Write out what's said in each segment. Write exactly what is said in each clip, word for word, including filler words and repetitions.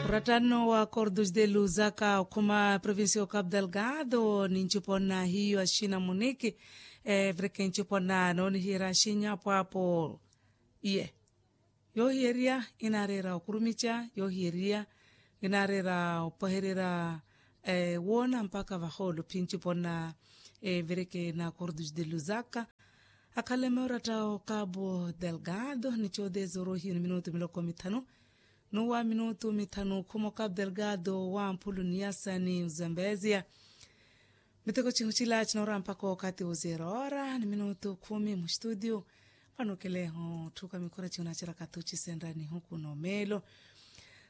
Ratano wa cordos de luzaka okhuma provincia o cap delgado ni ncipo na hiyo ashina muniki. Evireke ncipo na noonihira ashinyapwapo. Iye yoohiyeriya inareera okurumica yoohiyeriya inareera opwehererya. Woona mpaka vahoolo phi ncipo na evireke na cordos de luzaka. Akhaleme oratta o cabo delgado ni coodeza oroohiyo ni minutu miloko mithanu. N'uwa minutu mithanu okhuma o cabo delgado wa mphulu ni yasa ni ozambezia. Miteko cihu cila cinoora mpaka okathi wa zero hora ni minutu khumi mustudio. Vano okeleho otthuka mikhura cihu naceraka thucisenrya nihuku n'omeelo.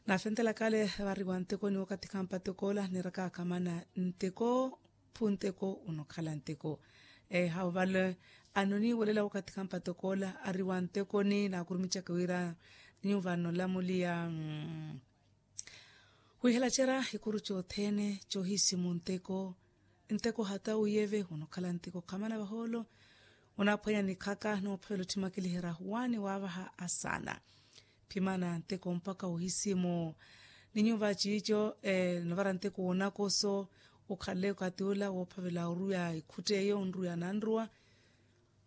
Naafentelaka ale vari wa nteko ni okathi khampa teko ola niraka akhamana nteko phu nteko onokhala nteko. Ehawu vale anoniiwelela wakathi khampa toko ola ari wa ntekoni naakurumicaka wira nyuva nolamuliya. Wihela cera ikuru cothene cohisimu nteko nteko hata uyeve onokhala nteko khamana vahoolo. Onaaphwanya nikhaka noophavela otthimakeliherya waani waavaha asaana. Phimana nteko mpaka ohisimu ni nyuva ciico. Novara nteko wonakoso okhale okathi ola woophavela oruya ekhutta eyo onruya nanruwa.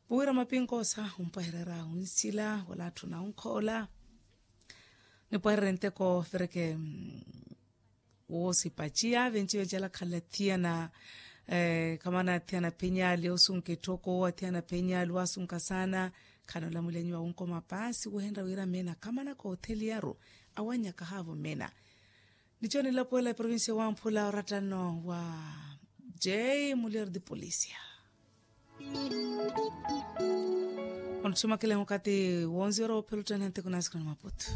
Vuwira mapinkosa ompwahererya onsila wala atthu na onkhoola. Nipwahererye nteko vireke woosipa ciya venci vencela khala thiyana. Khamana thiyana phenyali osunka etthoko athiyana phenyali wasunka saana. Khana olamuliya nyuwa wonkoma paasi wohenrya wira meena khamana kootheliyaru. Awannyaka haavo meena. Nico nilapuwela eprovincia wamphula orattano wa j mulier de polisia. Ontthimakele okathi wonziwera woophelutthaniha nteko nasikana maputu.